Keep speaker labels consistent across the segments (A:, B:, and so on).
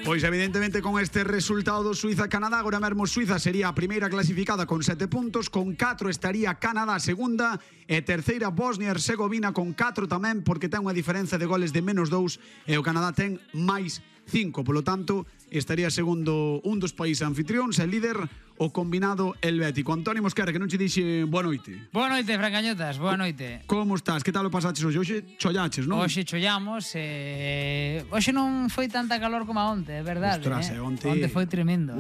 A: Pois evidentemente con este resultado do Suiza-Canadá, agora mesmo Suiza sería a primeira clasificada con 7 puntos, con 4 estaría Canadá segunda e terceira Bosnia-Herzegovina con 4 tamén, porque ten unha diferenza de goles de menos 2 e o Canadá ten máis 5, polo tanto estaría segundo un dos países anfitrións e líder o combinado helvético. Antonio Mosquera, que non che dixe boa noite.
B: Boa noite, Francañotas, boa noite.
A: Como estás? Que tal o pasaches hoxe? Hoxe chollaches, non?
B: Hoxe chollamos, hoxe non foi tanta calor como a onte, é verdade.
A: Ostras, onte
B: foi tremendo,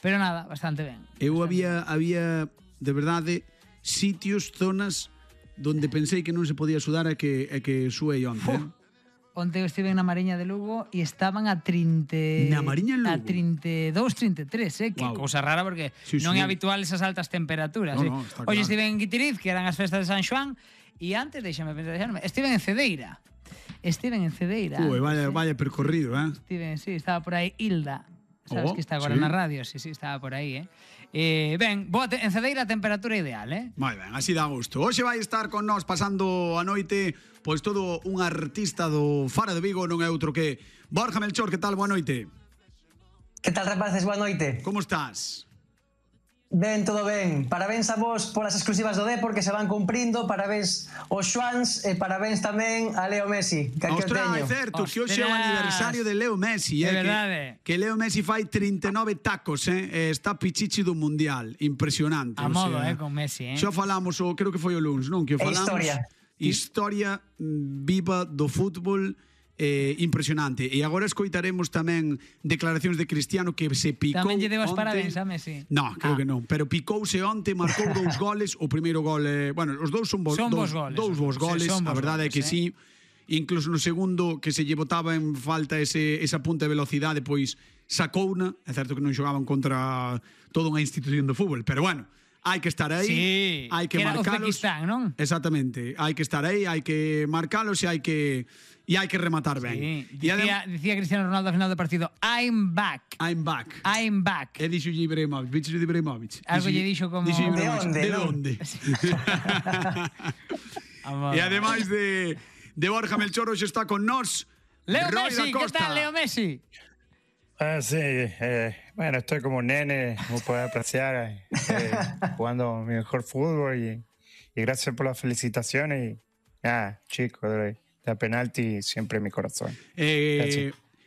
B: pero nada, bastante ben.
A: Eu había de verdade sitios, zonas donde pensei que non se podía sudar e que suei onte.
B: Onte eu estive na Mariña de Lugo e estaban a 30...
A: Na Mariña de Lugo?
B: A 32, 33, que cousa rara porque non é habitual esas altas temperaturas.
A: No, está
B: Hoxe
A: claro.
B: estive en Guitiriz, que eran as festas de San Xoán, e antes, deixame pensar, estive en Cedeira.
A: Ui, vaya percorrido,
B: Sí, estaba por aí Hilda. Sabes que está agora na radio? Sí, estaba por aí, ben, en Cedeira a temperatura ideal,
A: Moi ben, así dá gusto. Hoxe vai estar con nós pasando a noite pois todo un artista do Faro de Vigo, non é outro que Borja Melchor. Que tal? Boa noite.
C: Que tal, rapaces? Boa noite.
A: Como estás?
C: Ben, todo ben. Parabéns a vos polas exclusivas do Depor que se van cumprindo. Parabéns aos Xuans e parabéns tamén a Leo Messi, que aquí o teño.
A: É certo, que hoxe é o aniversario de Leo Messi.
B: É verdade.
A: Que Leo Messi fai 39 tacos, está pichichi do Mundial. Impresionante.
B: A modo, con Messi,
A: Xa falamos, creo que foi o lunes, non? Que o falamos. Historia viva do fútbol. Impresionante. E agora escoitaremos tamén declaracións de Cristiano, que se picou.
B: Tamén lle debo as parabéns a Messi.
A: No, creo que non, pero picouse onte, marcou 2 goles. O primeiro gol, bueno, os dous son dous bons goles, a verdade é que sí. Incluso no segundo, que se lle botaba en falta esa punta de velocidade, pois sacouna. É certo que non xogaban contra toda unha institución do fútbol, pero bueno, hai que estar aí, hai que marcalos.
B: Uzbekistán, non?
A: Exactamente, hai que estar aí, hai que marcalos e hai que rematar ben.
B: Dicía Cristiano Ronaldo ao final do partido, I'm back.
A: E dixo Ibrahimovic, bicho de Ibrahimovic.
B: Algo lle dixo como...
A: De onde? E ademais de Borja Melchor, hoxe está con nós
B: Leo
A: Roy
B: Messi,
A: da Costa.
B: ¿qué tal, Leo Messi?
D: Sí, bueno, estoy como un nene, como puedes apreciar, jugando mi mejor fútbol y gracias por las felicitaciones y chico, de penalti siempre en mi corazón.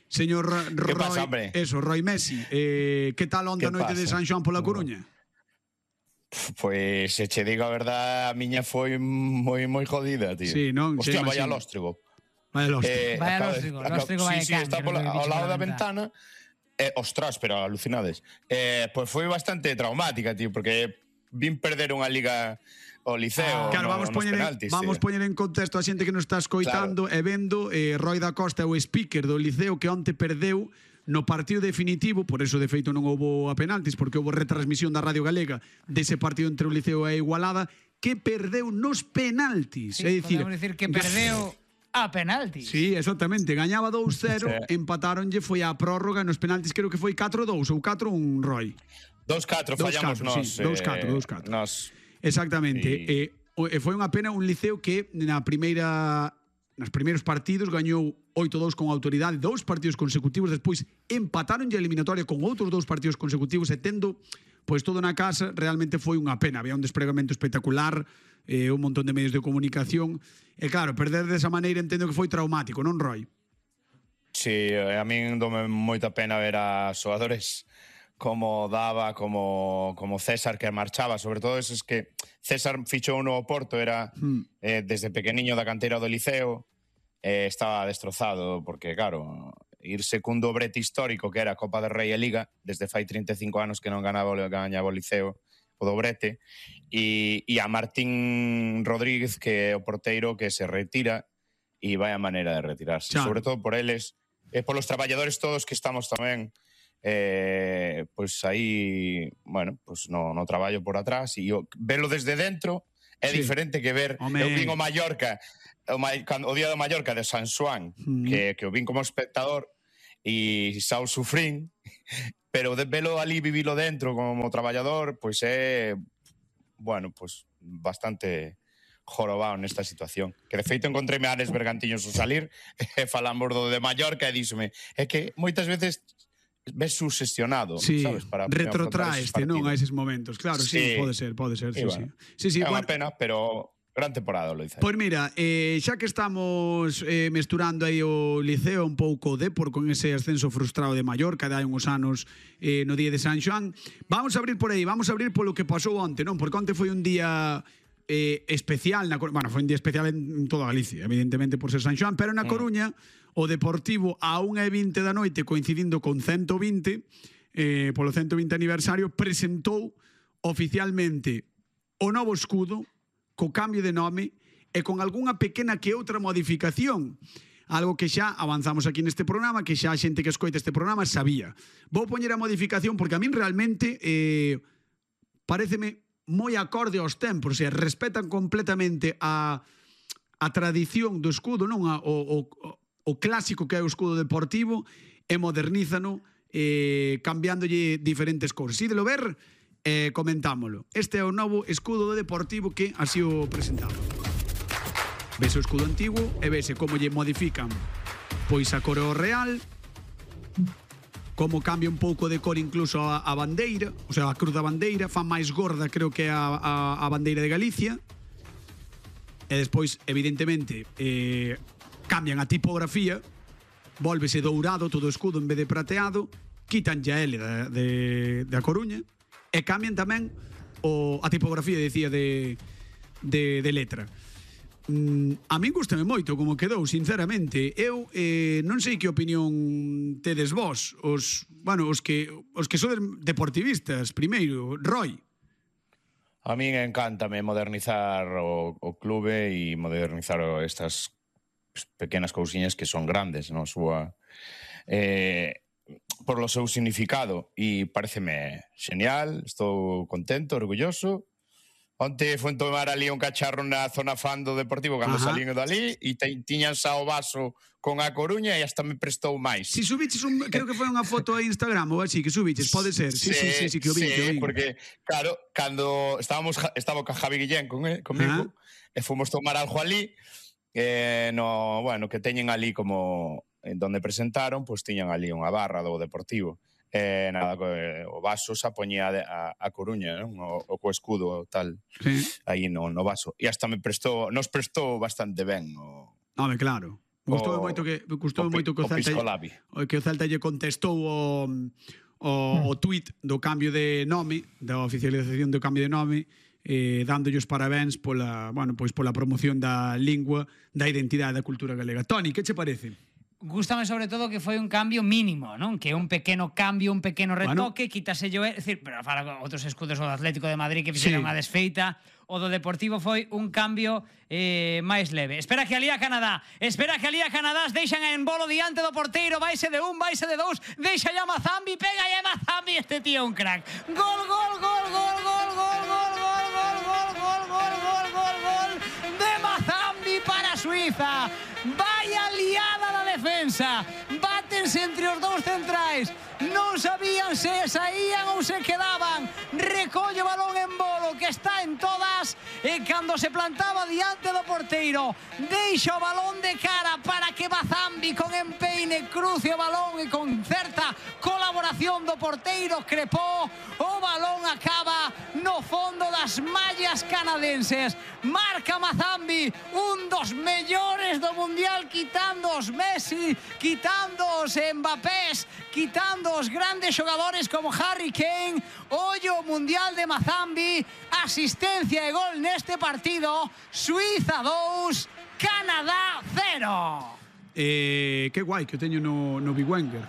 A: Señor Roy,
E: pasa, hombre?
A: Roy Messi, que tal onda a noite de San Xoán pola Coruña?
E: Pois, se che digo a verdade, a miña foi moi jodida, tío.
A: Sí, non?
E: Hostia, vaya lóstrigo.
B: Vaya lóstrigo vai
E: Sí, está ao lado da ventana. Ostras, pero alucinades. Pois foi bastante traumática, tío, porque vin perder unha liga o Liceo.
A: Claro, vamos poñer en contexto a xente que nos está escoitando e vendo. Roy da Costa é o speaker do Liceo que onte perdeu no partido definitivo, por eso de feito non houbo a penaltis, porque houbo retransmisión da Radio Galega dese partido entre o Liceo e a Igualada, que perdeu nos penaltis.
B: Sí, podemos dicir que perdeu a penaltis.
A: Sí, exactamente, gañaba 2-0, empataronlle, foi a prórroga, nos penaltis creo que foi 4-2 ou 4-1, Roy.
E: 2-4 fallamos nós.
A: Sí, 2-4.
E: Nós.
A: Exactamente. E foi unha pena un Liceo que nos primeiros partidos gañou 8-2 con autoridade, 2 partidos consecutivos, despois empataron a eliminatoria con outros 2 partidos consecutivos e tendo pois todo na casa, realmente foi unha pena. Había un despregamento espectacular, un montón de medios de comunicación e claro, perder desa maneira entendo que foi traumático, non, Roy?
E: Sí, a min dome moita pena ver a xogadores como Dava, como César, que marchaba, sobre todo esos que César fichou no Oporto, era desde pequeniño da canteira do Liceo, estaba destrozado, porque claro, ir segundo brete histórico, que era a Copa del Rei e Liga, desde fai 35 anos que non gañaba o Liceo, o dobrete, e a Martín Rodríguez, que é o porteiro que se retira, e vai a maneira de retirarse, sobre todo por eles, e polos traballadores todos que estamos tamén, pois aí, bueno, pois no traballo por atrás, e velo desde dentro é diferente que ver. Eu vin o Mallorca, o día do Mallorca de San Xoán, que o vin como espectador e xa o sufrín, pero de velo ali, vivilo dentro como traballador, pois é, bueno, pois bastante jorobado nesta situación. Que de feito encontréme a Alex Bergantiños ao salir e falamos do de Mallorca e díxome é que moitas veces ves sugestionado,
A: sí,
E: sabes? Para
A: retrotraeste, non, a eses momentos. Claro, sí, pode ser, sí,
E: bueno,
A: sí.
E: É unha pena, pero gran temporada, Loiza.
A: Pois mira, xa que estamos mesturando aí o Liceo un pouco o Depor con ese ascenso frustrado de Mallorca de hai uns anos no día de San Xoán, vamos a abrir por aí, vamos a abrir polo que pasou onte, non? Porque onte foi un día especial, bueno, foi un día especial en toda Galicia, evidentemente por ser San Xoán, pero na Coruña o Deportivo a 1:20 da noite, coincidindo con 120, polo 120 aniversario, presentou oficialmente o novo escudo, co cambio de nome e con algunha pequena que outra modificación. Algo que xa avanzamos aquí neste programa, que xa a xente que escoita este programa sabía. Vou poñer a modificación porque a min realmente pareceme moi acorde aos tempos, e respetan completamente a tradición do escudo, non o clásico que é o escudo deportivo, e modernízano cambiándolle diferentes cores. Si de lo ver, comentámolo. Este é o novo escudo do Deportivo que así o presentaba. Vese o escudo antigo e vese como lle modifican pois a cor real, como cambia un pouco de cor incluso a bandeira, o sea, a cruz da bandeira, fan máis gorda, creo que a bandeira de Galicia. E despois, evidentemente, cambian a tipografía, volvese dourado todo o escudo en vez de prateado, quitan ya L da Coruña, e cambian tamén a tipografía, decía, de letra. A min gustame moito como quedou, sinceramente. Eu non sei que opinión tedes vos, os que sodes deportivistas, primeiro, Roy.
E: A min encántame modernizar o clube e modernizar estas pequenas cousiñas que son grandes, non? Por lo seu significado, e pareceme genial, estou contento, orgulloso. Onte foi tomar ali un cacharro na zona fan do Deportivo cando salín dali e tiñan xa o vaso con a Coruña e hasta me prestou máis.
A: Si subiches creo que foi unha foto a Instagram ou así que subiches, pode ser. Sí, que o vi.
E: Sí, porque claro, cando estaba con Javi Guillén comigo e fomos tomar algo ali, que teñen ali como en donde presentaron, pois tiñan ali unha barra do Deportivo. O vaso xa poñía a Coruña, non? O co escudo tal, aí no vaso. E hasta nos prestou bastante ben.
A: Home, claro. Gustoume moito que o Celta lle contestou o tuit do cambio de nome, da oficialización do cambio de nome, dándolle os parabéns pola promoción da lingua, da identidade da cultura galega. Toni, que che parece?
B: Gústame sobre todo que foi un cambio mínimo, non? Que un pequeno cambio, un pequeno retoque, quítaselle, pero fala outros escudos do Atlético de Madrid que fixeron unha desfeita, o do Deportivo foi un cambio máis leve. Espera que alía Canadá deixan en bolo diante do porteiro, vaise de un, vaise de dous, deixa ya Mazambi, pega ya Mazambi, este tío un crack. Gol de Mazambi para Suiza. Vaya liada da defensa, bátense entre os dous centrais, non sabían se saían ou se quedaban, recolle o balón en bolo que está en todas e cando se plantaba diante do porteiro deixa o balón de cara para que Mazambi con empeine cruce o balón e con certa colaboración do porteiro Crepó, o balón acaba no fondo das mallas canadenses. Marca Mazambi, un dos mellores do Mundial, quitando os Messi, quitando os Mbappés, quitando os grandes xogadores como Harry Kane. Ollo Mundial de Mazambi, asistencia e gol neste partido. Suiza 2, Canadá 0.
A: Que guai que o teño no Big Wenger.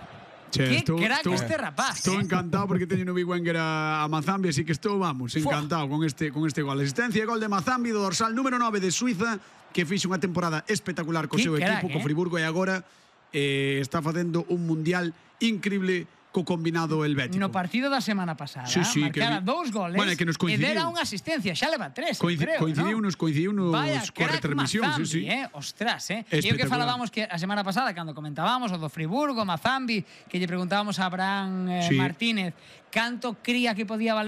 B: Que crack este rapaz.
A: Estou encantado porque teño no Big Wenger a Mazambi, así que estou, encantado con este gol. Asistencia e gol de Mazambi, do dorsal número 9 de Suiza, que fixe unha temporada espectacular co seu equipo, co Friburgo, e agora está facendo un mundial increíble co combinado helvético.
B: No partido da semana pasada, marcara 2 goles e dera unha asistencia, xa leva 3, creo,
A: coincidiunos coa retransmisión.
B: Mazambi, ostras, E o que falábamos que a semana pasada, cando comentábamos o do Friburgo, Mazambi, que lle preguntábamos a Abraham Martínez canto cría que podía valer